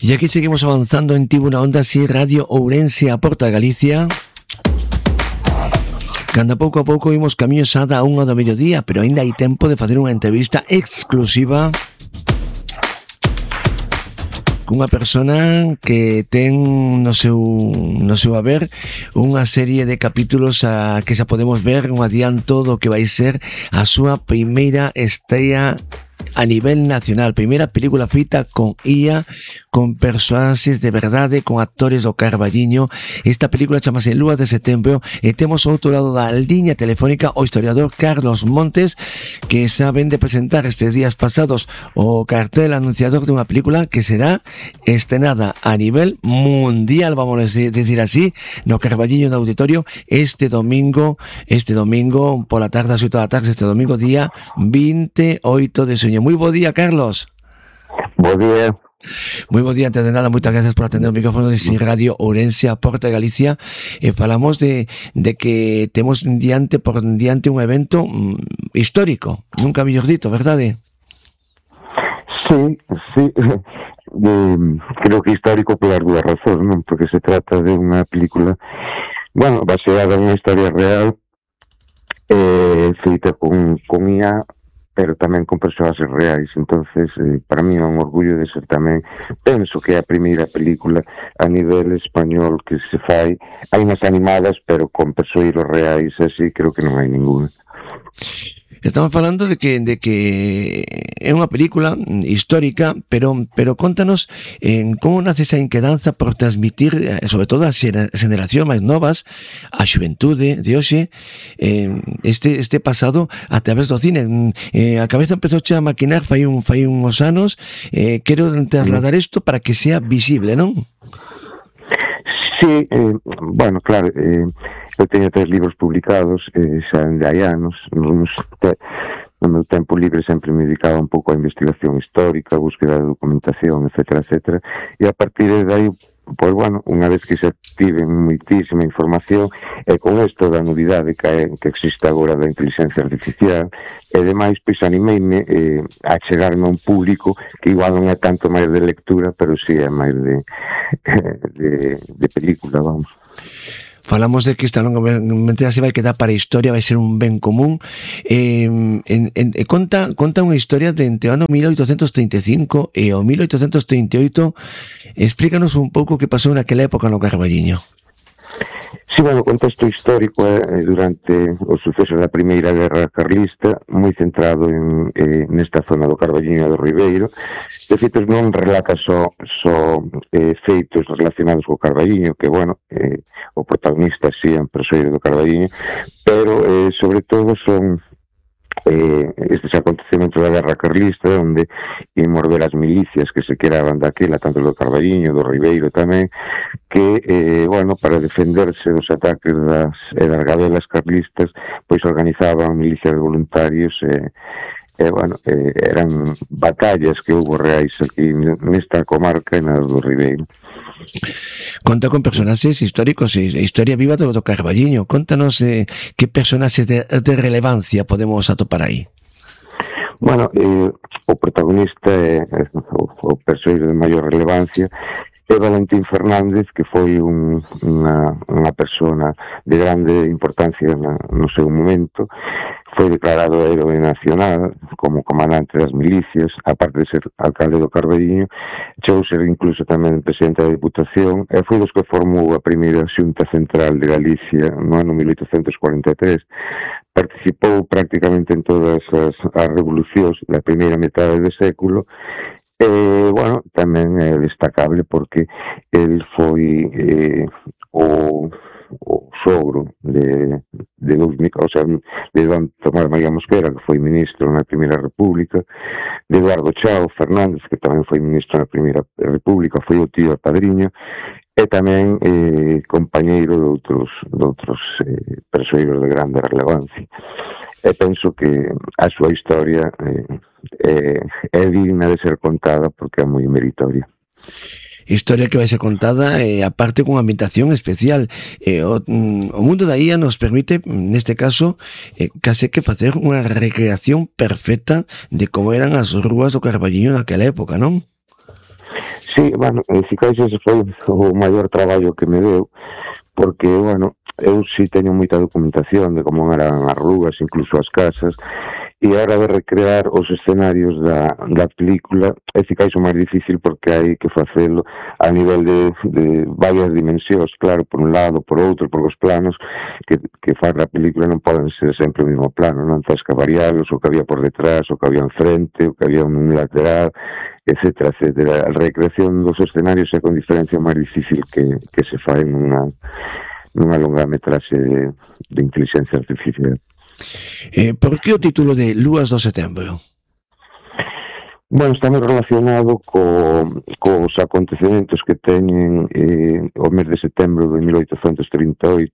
E aquí seguimos avanzando en Tribuna Onda, si Radio Ourense a Porta de Galicia. Cando pouco a pouco imos camiño xa da 1 do mediodía, pero ainda hai tempo de facer unha entrevista exclusiva cunha persona que ten no seu haber unha serie de capítulos a que xa podemos ver un adianto do que vai ser a súa primeira estrea a nivel nacional, primeira película feita con IA, con personaxes de verdade, con actores do Carballiño. Esta película chamase Lúas de Setembro e temos ao outro lado da liña telefónica o historiador Carlos Montes, que saben de presentar estes días pasados o cartel anunciador dunha película que será estrenada a nivel mundial, vamos a decir así, no Carballiño do Auditorio este domingo pola tarde, ás 8 da tarde, este domingo día 28 de xuño. Moi bo día, Carlos. Bo día. Moi bo día, antes de nada, moitas gracias por atender o micrófono de Si Radio Ourense a Porta de Galicia. Falamos de que temos diante un evento histórico, nunca mellor dito, verdade? Sí. Creo que histórico polas dúas razóns, non? Porque se trata de unha película, baseada en unha historia real, feita con IA, pero tamén con persoaxes reais. Entonces, para mí é un orgullo de ser tamén, penso que é a primeira película a nivel español que se fai. Hai unhas animadas, pero con persoeiros reais, así creo que non hai ninguna. Estamos falando de que é unha película histórica, pero contanos como nace esa inquedanza por transmitir, sobre todo as xeracións máis novas, a xuventude de hoxe, este pasado a través do cine. A cabeza empezouche a maquinar fai uns anos. Quero trasladar isto para que sea visible, non? Sí, claro, eu teño 3 libros publicados, xa de hai anos. No meu tempo libre sempre me dedicaba un pouco á investigación histórica, a búsqueda de documentación, etcétera, e a partir de aí, unha vez que xa tive moitísima información, e con isto da novidade que existe agora da inteligencia artificial, e demais, pois animeime a chegarme a un público que igual non é tanto máis de lectura, pero si é máis de película, vamos. Falamos de que esta longa mentira se vai quedar para a historia, vai ser un ben común. Conta unha historia de entre o ano 1835 e o 1838. Explícanos un pouco que pasou naquela época no Carballiño. Sí, o contexto histórico é durante os sucesos da Primeira Guerra Carlista, moi centrado nesta zona do Carballiño e do Ribeiro. De feito, non relata só feitos relacionados co Carballiño, que, o protagonista sí é un persoeiro do Carballiño, pero, sobre todo, son estes acontecementos da Guerra Carlista, onde imos ver as milicias que se queraban daquela, tanto do Carballiño, do Ribeiro tamén, que, para defenderse dos ataques das gabelas carlistas, pois organizaban milicias de voluntarios eran batallas que houve reais aquí nesta comarca e na do Ribeiro. Conta con personaxes históricos e historia viva do Carballiño. Contanos que personaxes de relevancia podemos atopar aí. O protagonista é o persoeiro de maior relevancia é Valentín Fernández, que foi unha persona de grande importancia no seu momento. Foi declarado héroe nacional como comandante das milicias, aparte de ser alcalde do Carballiño. Chegou ser incluso tamén presidente da Diputación e foi dos que formou a primeira Xunta Central de Galicia no ano 1843. Participou prácticamente en todas as revolucións da primeira metade do século. Tamén é destacable porque el foi o sogro de Don Tomás María Mosquera, que foi ministro na Primeira República, de Eduardo Chao Fernández, que tamén foi ministro na Primeira República, foi o tío e padriño, e tamén compañeiro de outros persoeiros de grande relevancia. E penso que a súa historia é digna de ser contada porque é moi meritoria. Historia que vai ser contada aparte con ambientación especial. O mundo da IA nos permite, neste caso, case que facer unha recreación perfecta de como eran as rúas do Carballiño naquela época, non? Sí, bueno, si cais ese foi o maior traballo que me deu, porque, bueno, eu si teño moita documentación de como eran as rúas, incluso as casas, e a hora de recrear os escenarios da película é ficais o máis difícil porque hai que facelo a nivel de varias dimensións, claro, por un lado, por outro, por os planos que faz a película non poden ser sempre o mesmo plano, non tens que variarlos, o que había por detrás, o que había enfrente, o que había un lateral, etcétera, etcétera. A recreación dos escenarios é con diferencia máis difícil que se fai nunha longametraxe de inteligencia artificial. Por que o título de Lúas do Setembro? Bueno, está moi relacionado cos acontecementos que teñen o mes de setembro de 1838,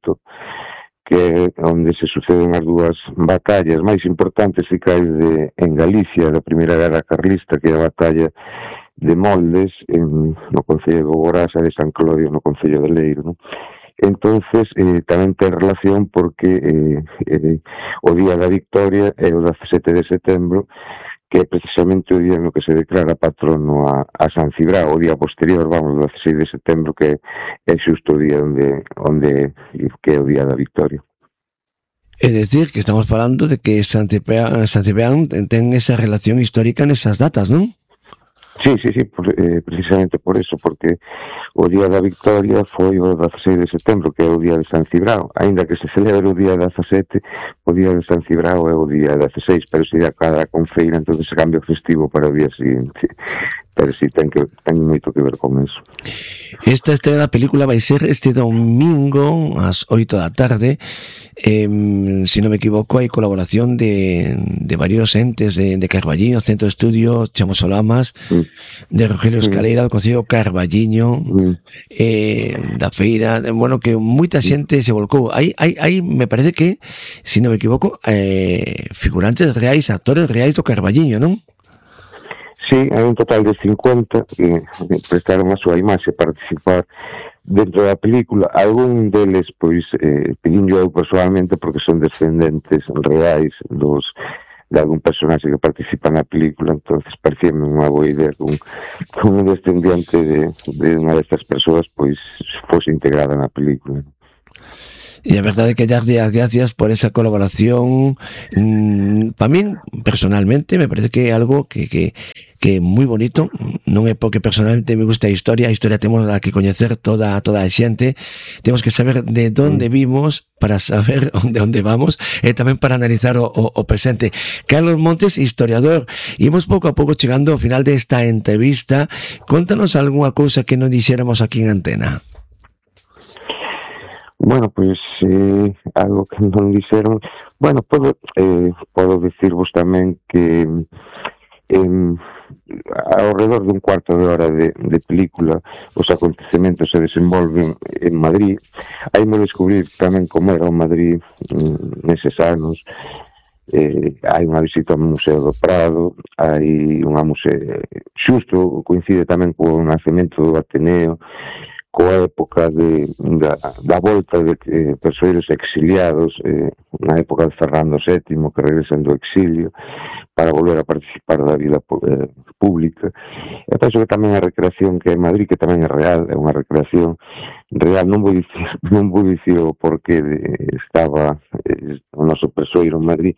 que é onde se suceden as dúas batallas máis importantes que caen en Galicia da Primeira Guerra Carlista, que é a batalla de Moldes no concello de Bogorasa, de San Clodio no concello de Leiro, non? Entonces tamén ten relación porque o día da victoria é o 17 de setembro, que é precisamente o día no que se declara patrono a San Cibrao, o día posterior, vamos, o 16 de setembro, que é xusto o día que é o día da victoria. É dicir, que estamos falando de que San Cibrán ten esa relación histórica nesas datas, non? Sí, precisamente por eso, porque o día da victoria foi o 16 de setembro, que é o día de San Cibrao, aínda que se celebra o día 17, o día de San Cibrao é o día 16, pero se dá cada confeira, entón se cambia o festivo para o día seguinte. Pero sí, ten moito que ver con eso. Esta estrena da película vai ser este domingo ás 8 da tarde. Se non me equivoco, hai colaboración de varios entes de Carballiño, Centro de Estudio Chamosolamas, de Rogelio Escaleira, do Concello Carballiño, da feira, bueno, que moita xente se volcou. Hai, me parece que, se non me equivoco, figurantes reais, actores reais do Carballiño, non? Sí, hai un total de 50 que prestaron a súa imaxe a participar dentro da película. Algún deles, pois, pedinho eu personalmente porque son descendentes reais de algún personaxe que participa na película, entonces parecíame unha boa idea que un descendiente de unha destas persoas pois fose integrada na película. E a verdade é que darlle as gracias por esa colaboración. Para min, personalmente, me parece que é algo que é moi bonito. Non é porque personalmente me gusta a historia temos que coñecer toda a xente, temos que saber de onde vimos para saber onde vamos e tamén para analizar o presente. Carlos Montes, historiador, imos pouco a pouco chegando ao final desta entrevista. Contanos algunha cousa que non dixéramos aquí en antena. Bueno, pois algo que non dixeron, bueno, podo dicirvos tamén que ao redor dun cuarto de hora de película os acontecementos se desenvolven en Madrid. Aí me descubrir tamén como era o Madrid neses anos. Hai unha visita ao Museo do Prado, hai unha xusto coincide tamén co nacemento do Ateneo, coa época da volta de persoeiros exiliados, na época de Fernando VII, que regresan do exilio para volver a participar da vida pública. E penso que tamén a recreación que é en Madrid, que tamén é real, é unha recreación real. Non vou dicir o porqué estaba o noso persoeiro en Madrid,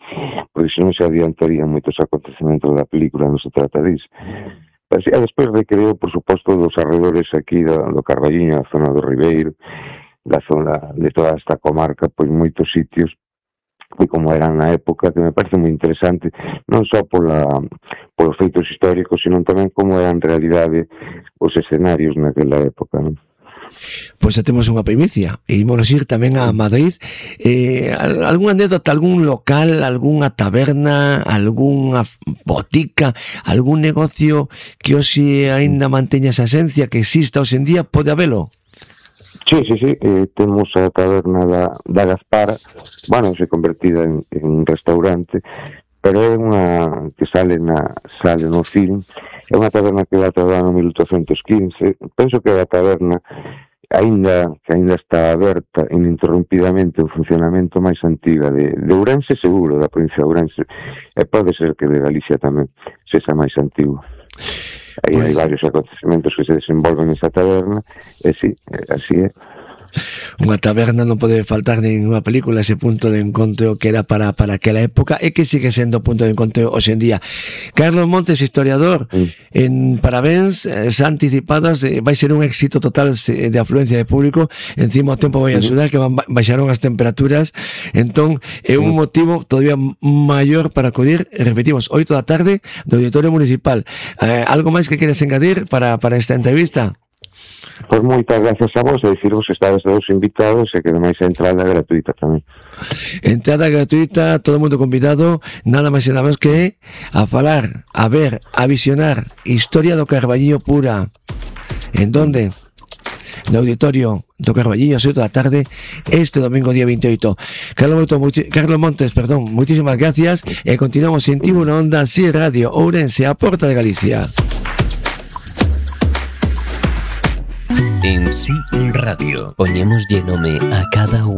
porque senón se adiantarían moitos acontecementos da película, non se trata disso. E despois recreou, por suposto, dos arredores aquí do Carballiño, a zona do Ribeiro, da zona de toda esta comarca, pois moitos sitios e como eran na época, que me parece moi interesante, non só polos feitos históricos, sino tamén como eran en realidade os escenarios naquela época, non? Pois xa temos unha primicia e ímonos ir tamén a Madrid. Algún anécdota, algún local, algunha taberna, algunha botica, algún negocio que hoxe aínda manteña esa esencia, que exista hoxe en día, pode habelo? Sí, temos a taberna da Gaspara, bueno, se convertida en restaurante, pero é unha que sale no film. É unha taberna que data do ano 1815. Penso que a taberna que aínda está aberta ininterrumpidamente o funcionamento máis antiga de Ourense, seguro, da provincia de Ourense, e pode ser que de Galicia tamén sexa máis antigo. Aí hai varios acontecementos que se desenvolven nesa taberna, e sí, así é. Unha taberna non pode faltar ninguna película, ese punto de encontro que era para aquela época e que sigue sendo punto de encontro hoxe en día. Carlos Montes, historiador, en parabéns, xa anticipadas, vai ser un éxito total de afluencia de público, encima o tempo vai axudar, que baixaron as temperaturas, entón é un motivo todavía maior para acudir, repetimos, 8 da tarde do Auditorio Municipal. Algo máis que queres engadir para esta entrevista? Pois moitas gracias a vos, e dicirvos que estades todos invitados e que ademais a entrada gratuita tamén. Entrada gratuita, todo o mundo convidado, nada máis e nada máis que a falar, a ver, a visionar historia do Carballiño pura. En donde? No Auditorio do Carballiño, 7 da tarde, este domingo día 28. Carlos Montes, muchísimas gracias e continuamos en Tivo na Onda, Si Radio, Ourense, a Porta de Galicia. En Si Radio, poñémoslle nome a cada